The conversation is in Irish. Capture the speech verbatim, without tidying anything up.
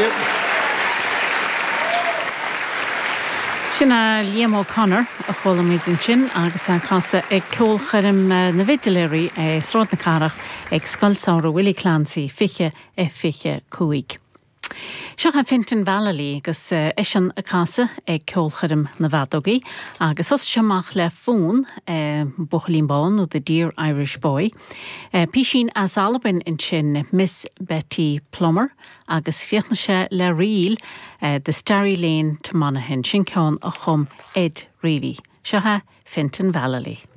you. Sin é Liam O'Connor a chuala muid ansin agus é ag casadh ag ceolchoirm na bhfidléirí i Sráid na Cathrach ag Scoil Samhraidh Willie Clancy fiche a fiche cúig. Seo é Fintan Vallely agus eisean ag casadh ag ceolchoirm na bhfeadógaí agus thosaigh sé amach le fonn Buachaillín Bán nó The Dear Irish Boy. Písín as Albain ansin Miss Betty Plummer agus chríochnaigh sé le ríl The Starry Lane to Monaghan sin ceann a chum Ed Reavy. Seo é Fintan Vallely.